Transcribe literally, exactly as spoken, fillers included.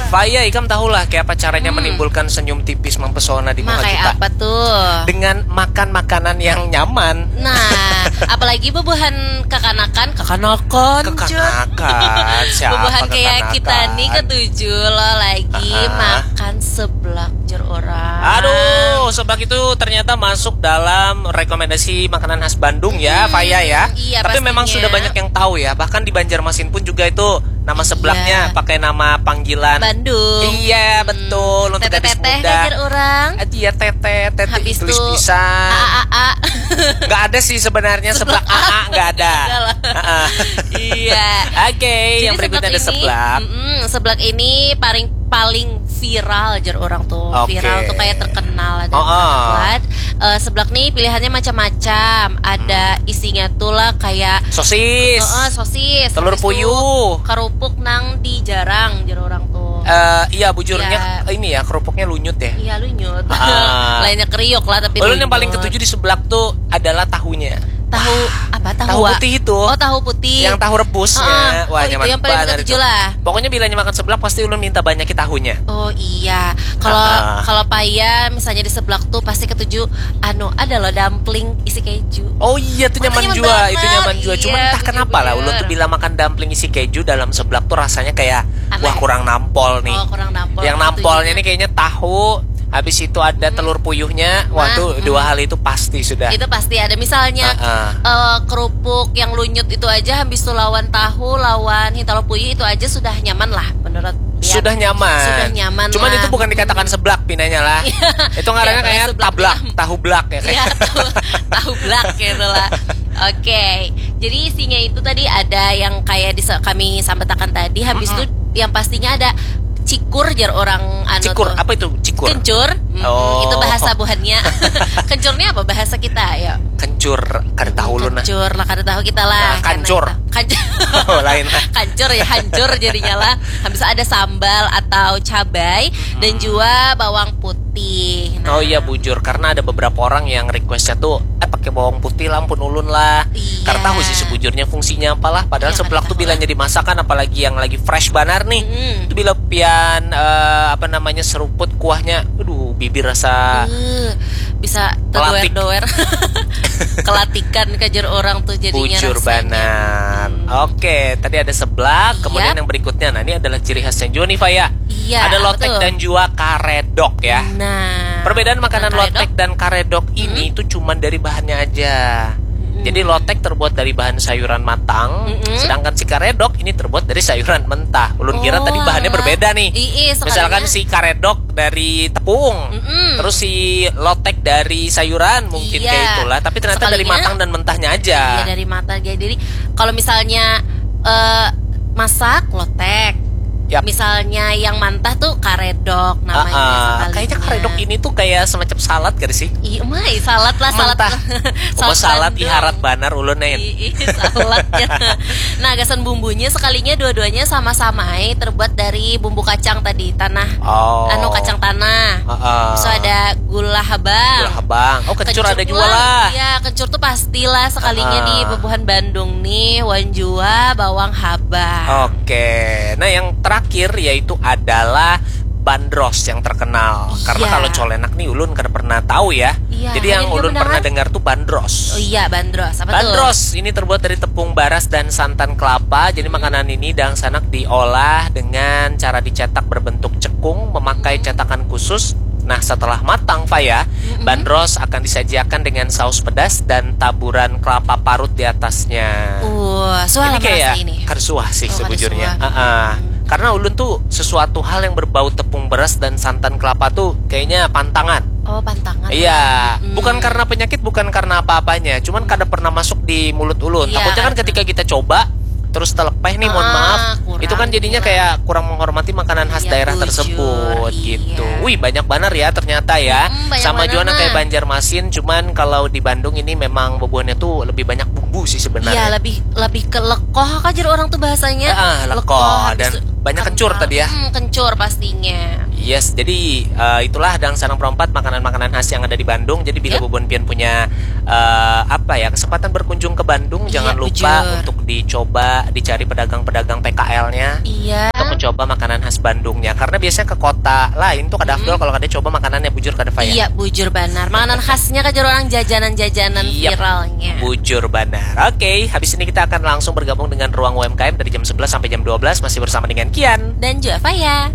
Faya, ikam tahulah kayak apa caranya hmm. menimbulkan senyum tipis mempesona di muka kita. Apa tuh? Dengan makan makanan yang nyaman. Nah, apalagi bubuhan kekanakan, kekanakan, kekanakan. Siapa bubuhan kayak kita nih ketujuh lo lagi uh-huh. makan seblak jer orang. Aduh, seblak itu ternyata masuk dalam rekomendasi makanan khas Bandung ya, hmm, Faya ya. Iya, tapi pastinya. Memang sudah banyak yang tahu ya. Bahkan di Banjarmasin pun juga itu nama seblaknya iya. pakai nama panggilan Bandung. Iya, betul. Untuk gadis muda. Teteh-teteh hajar orang. Iya, teteh, teteh habis tulis tuh, pisan. A A A. Nggak ada sih sebenarnya seblak A A, nggak ada. Iya. Oke, yang berikutnya ada seblak. Seblak ini paling paling viral jer orang tuh. Okay. Viral tuh kayak terkenal dan oh, oh. Buat uh, seblak nih pilihannya macam-macam. Ada hmm. isinya tuh lah kayak sosis. Uh, uh, sosis. Telur puyuh. Kerupuk nang dijarang jer orang tuh. Uh, iya bujurnya ya. Ini ya kerupuknya lunyut ya. Iya lunyut. Uh. Lainnya kriuk lah tapi. Ulun yang paling ketujuh di seblak tuh adalah tahunya. Tahu apa? Tahu, tahu putih itu. Oh, tahu putih. Yang tahu rebusnya. Uh, wah, oh, nyaman itu yang paling ketujuh lah. Pokoknya bilanya makan seblak pasti ulun minta banyak tahunya. Oh iya. Kalau uh, kalau Faya misalnya di seblak tuh pasti ketujuh anu ada loh dumpling isi keju. Oh iya tuh nyaman juga, itu nyaman juga. Cuman iya, entah kenapa lah ulun tuh bila makan dumpling isi keju dalam seblak tuh rasanya kayak wah kurang nampol nih. Oh, kurang nampol. Yang nampolnya nih kayaknya tahu, habis itu ada hmm. telur puyuhnya. Waduh, nah, dua hmm. hal itu pasti sudah. Itu pasti ada. Misalnya uh, uh. Uh, kerupuk yang lunyut itu aja habis itu lawan tahu, lawan hintalo puyuh itu aja sudah nyaman lah menurut dia. Sudah nyaman. Sudah nyaman. Cuman lah. Itu bukan dikatakan seblak pinanya lah. Itu ngarannya ya, kayak seblak tablak, tahu blak ya kayak. Ya, tahu, tahu blak gitu lah. Oke. Jadi isinya itu tadi ada yang kayak di kami sampetakan tadi habis itu mm-hmm. yang pastinya ada cikur jar orang anu cikur tuh. Apa itu cikur? Kencur. Mm-hmm. Oh. Itu bahasa buhannya. Kencurnya apa bahasa kita ya? Kencur kada tahu ulun nah. Kencur lah kada tahu kita lah. Nah, kancur. Kancur. Oh, lain lah. Kancur ya hancur jadinya lah. Habis ada sambal atau cabai hmm. dan juga bawang putih. Nah. Oh iya bujur karena ada beberapa orang yang requestnya tuh eh pakai bawang putih lah ampun ulun lah. Iya. Karena tahu sih sebujurnya fungsinya apalah padahal ya, seblak tuh bilanya dimasakan apalagi yang lagi fresh banar nih. Hmm. Itu bila pian uh, apa namanya seruput kuahnya, aduh bibir rasa uh, bisa terdoer-doer. Kelatikan kajar orang tuh jadinya bujur rasanya. Banar. Hmm. Oke, tadi ada seblak, iya. Kemudian yang berikutnya, nah ini adalah ciri khasnya juga nih Faya. Iya, ada lotek betul. Dan juga karedok ya. Nah, perbedaan makanan nah, lotek dan karedok hmm. Ini tuh cuman dari bahannya aja. Hmm. Jadi lotek terbuat dari bahan sayuran matang, hmm. Sedangkan si karedok ini terbuat dari sayuran mentah. Ulun kira oh, tadi bahannya alah. Berbeda nih. Ii, misalkan si karedok dari tepung, mm-mm. Terus si lotek dari sayuran mungkin iya. Kayak itulah. Tapi ternyata sekalinya, dari matang dan mentahnya aja. Iya dari matang. Jadi kalau misalnya uh, masak lotek, yep. Misalnya yang mantah tuh karedok namanya. Uh-uh. Kayaknya karedok ini tuh kayak semacam salad gak sih? Iya, mai salad lah salad. Mentah. Salad, salad iharat banar ulun nih. Iya, saladnya. Nah, gasan bumbunya sekalinya dua-duanya sama-sama eh, terbuat dari bumbu kacang tadi, tanah. Oh. Anu kacang tanah. Uh-uh. So ada gula habang. Gula habang. Oh, kencur ada juga lah. Iya, kencur tuh pastilah sekalinya uh-uh. Di bubuhan Bandung nih, wan jua bawang habang. Oke. Nah, yang terakhir yaitu adalah bandros yang terkenal. Iya. Karena kalau colenak nih ulun kada pernah tahu ya. Iya, jadi yang ulun pernah dengar tuh bandros. Oh iya, bandros. Apa bandros tuh? Ini terbuat dari tepung baras dan santan kelapa. Jadi hmm. Makanan ini dangsanak diolah dengan cara dicetak berbentuk cekung memakai hmm. Cetakan khusus. Nah, setelah matang, Faya, hmm. Bandros akan disajiakan dengan saus pedas dan taburan kelapa parut di atasnya. Uh, suah ini kayak ini. Kada suah sih oh, sebujurnya. Uh-uh. Hmm. Karena ulun tuh sesuatu hal yang berbau tepung beras dan santan kelapa tuh kayaknya pantangan. Oh, pantangan. Iya, hmm. Bukan karena penyakit, bukan karena apa-apanya, cuman hmm. Kada pernah masuk di mulut ulun. Iya, takutnya kan ketika kita coba terus telepeh nih, mohon ah, maaf. Kurang, itu kan jadinya kurang. Kayak kurang menghormati makanan khas iya, daerah bujur, tersebut iya. Gitu. Wih, banyak banget ya ternyata ya. Hmm, sama juga nah kayak Banjarmasin, cuman kalau di Bandung ini memang bubuhannya tuh lebih banyak bumbu sih sebenarnya. Iya, lebih lebih ke lekoh aja orang tuh bahasanya. Ah, lekoh, lekoh dan Banyak kencur tadi ya. Hmm, kencur pastinya. Yes, jadi uh, itulah Dangsanang Perompat, makanan-makanan khas yang ada di Bandung. Jadi bila Yep. Bubun Pian punya uh, apa ya, kesempatan berkunjung ke Bandung, Iya, jangan lupa bujur. Untuk dicoba, dicari pedagang-pedagang P K L-nya Iya. Untuk mencoba makanan khas Bandungnya. Karena biasanya ke kota lain tuh kada afdol kalau kada coba makanannya, bujur kada, Faya? Iya, bujur banar. Makanan khasnya kajar orang, jajanan-jajanan Yep. viralnya. Bujur banar. Oke, habis ini kita akan langsung bergabung dengan Ruang U M K M dari jam sebelas sampai jam dua belas, masih bersama dengan Kian. Dan juga Faya.